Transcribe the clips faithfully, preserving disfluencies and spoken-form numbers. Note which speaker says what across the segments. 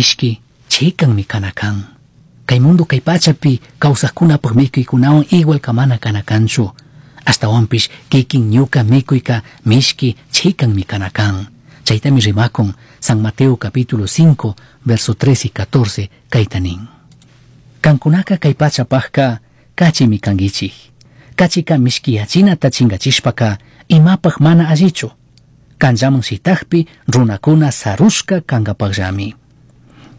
Speaker 1: Mishki chikanmi kana kan. Kay mundo kay pachapi kawsaqkunapaq mikuykunawan igual kamana kana kanchu. Ashtawanpish kikin ñuka mikuyka mishki chikanmi kana kan. Chaytami rimakun San Mateo capítulo cinco, verso tres y catorce, kayta nin. Kankunaka kay pachapaqka kachimi kankichik. Kachika mishkiyachinata chingachishpaka imapaq mana allichu. Kanllaman shitakpi runakuna sarushka kankapaqllami.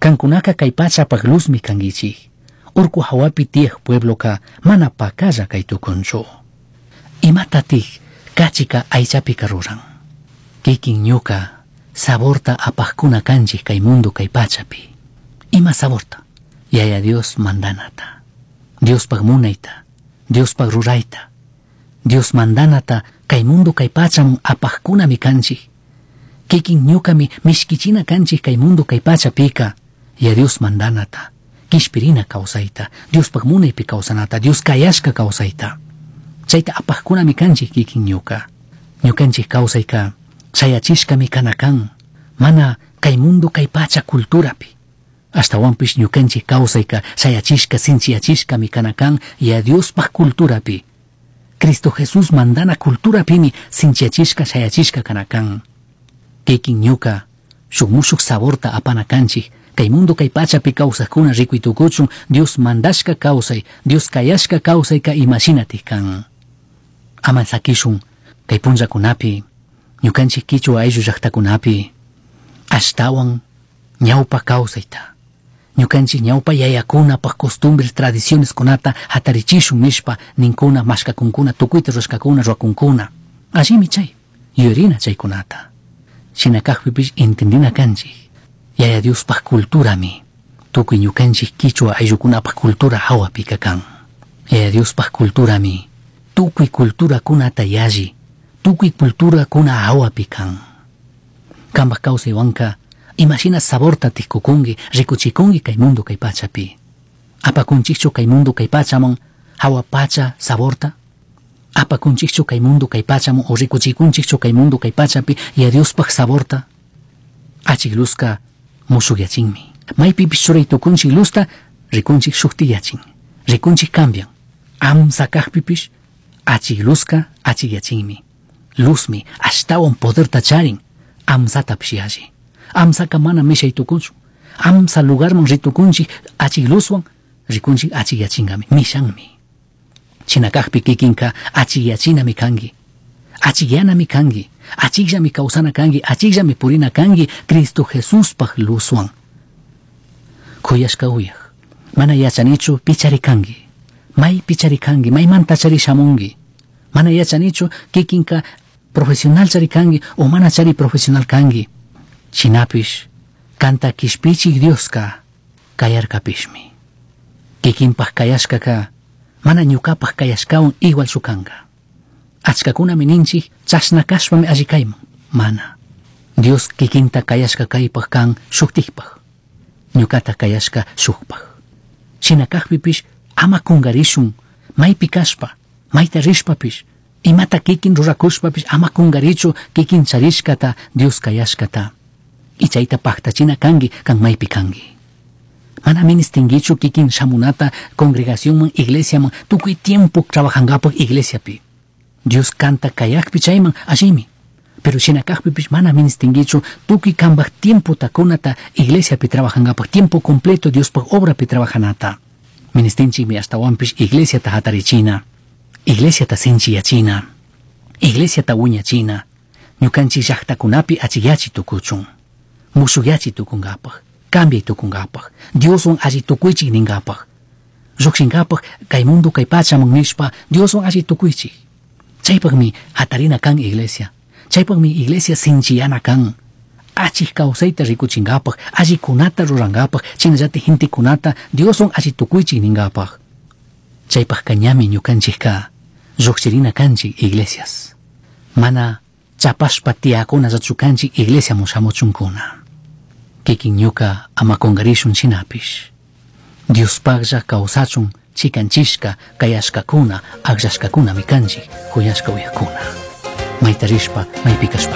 Speaker 1: Kankunaka kay pachapaq luzmi kankichik. Urku hawapi tiyaq puebloka mana pakalla kay tukunchu. Imatatik kachika aychapika ruran. Kikin ñuka saborta apaqkuna kanchik kay mundo kay pachapi. Ima saborta? Yaya Dios mandanata. Diospaq munayta. Diospaq rurayta. Dios mandanata kay mundo kay pachaman apaqkunami kanchik. Kikin ñukami mishkichina kanchik kay mundo kay pachapika. Ya Dios mandanata. Kishpirina kawsayta. Diospaq munaypi kawsanata. Dios kayashka kawsayta. Chayta apaqkunami kanchik kikin ñuka. Ñukanchik kawsayka shayachishkami kana kan. Mana kay mundo kay pacha culturapi. Ashtawanpish ñukanchik kawsayka shayachishka sinchiyachishkami kana kan ya Diospaq culturapi. Cristo Jesús mandana culturapimi sinchiyachishka shayachishka kana kan. Kikin ñuka shuk mushuk saborta apana kanchik. Kay mundo kay pachapi kawsaqkuna rikuytukuchun Dios mandashka kawsay, Dios kayashka kawsayka imashinatik kan. Ama sakishun kay punllakunapi, ñukanchik kichwa ayllu llaqtakunapi, ashtawan ñawpa kawsayta. Ñukanchik ñawpa yayakunapaq costumbres, tradiciones kunata hatarichishun nishpa ninkuna, mashkakunkuna, tukuyta rurashkakuna, ruwakunkuna. Allimi chay, yuyarina chaykunata. Shina kaqpipish entendina kanchik. Yaya Diospaq culturami, tukuy ñukanchik kichwa ayllukunapaq cultura hawapika kan. Yaya Diospaq culturami, tukuy culturakunata yalli, tukuy culturakuna hawapi kan. Kanpaq kawsaywanka, imashina saborta tikukunki, rikuchikunki kay mundo kay pachapi. Apakunchikchu kay mundo kay pachaman hawa pacha saborta? Apakunchikchu kay mundo kay pachaman o rikuchikunchikchu kay mundo kay pachapi ya Diospaq saborta? Achik luzka mushukyachinmi. Maypipish churay tukunchik luzta, rikunchik shuktiyachin. Rikunchik cambian. Amsa kaqpipish, achik luzka achikyachinmi. Luzmi ashtawan poderta charin, amsatapish yalli. Amsaka mana mishay tukunchu. Amsa lugarman ritukunchik achik luzwan, rikunchik achikyachinqami, mishanmi. Shina kaqpi kikinka achikyachinami kanki. Achikyanami kanki. Achikllami kawsana kanki, achikllami purina kanki Cristo Jesuspaq luzwan. Kuyashka uyaq, mana yachanichu pichari kanki. May pichari kanki, maymanta chari shamunki. Mana yachanichu kikinka profesional chari kanki o mana chari profesional kanki. Shinapish, kanta kishpichik Dioska kayarkapishmi. Kikinpaq kayashkaka mana ñukapaq kayashkawan igual kanka. Achkakunami ninchik chashna kashpami alli kayman. Mana. Dios kikinta kayashka kaypaq kan shuktikpaq. Ñukata kayashka shukpaq. Shina kaqpipish ama kungarishun maypi kashpa, mayta rishpapish, imata kikin rurakushpapish ama kungarichu kikin charishkata Dios kayashkata. Y chayta paqtachina kanki kan maypi kanki. Mana ministinkichu kikin shamunata congregacionman, iglesiaman, tukuy tiempo trabajankapaq iglesiapi. Dios kanta kayaqpi chayman allimi. Pero shina kaqpipish mana ministinkichu tukuy kanpaq tiempo takunata iglesiapi trabajankapaq tiempo completo Diospaq obrapi trabajanata. Ministinchikmi ashtawanpish iglesiata hatarichina, iglesiata sinchiyachina, iglesiata wiñachina, ñukanchik llaqtakunapi achikyachi tukuchun, mushukyachi tukunkapaq, cambiay tukunkapaq, Dioswan alli tukuychik ninkapaq, lluqshinkapaq kay mundo kay pachaman nishpa Dioswan alli tukuychik. Chaypaqmi hatarina kan iglesia, chaypaqmi iglesia sinchiyana kan. Achik kawsayta rikuchinkapaq, allikunata rurankapaq, chaynallatik gentekunata Dioswan alli tukuychik ninkapaq. Chaypaqka ñami ñukanchikka lluqshirina kanchik iglesias. Mana chapashpa tiyakunallachu kanchik iglesiaman shamuchunkuna. Kikin ñuka ama kungarishun shinapish. Diospaqlla kawsachun chikanchishka kayashkakuna akllashkakunami kanchik kuyashka uyakuna. Mayta rishpa maypi kashpapish.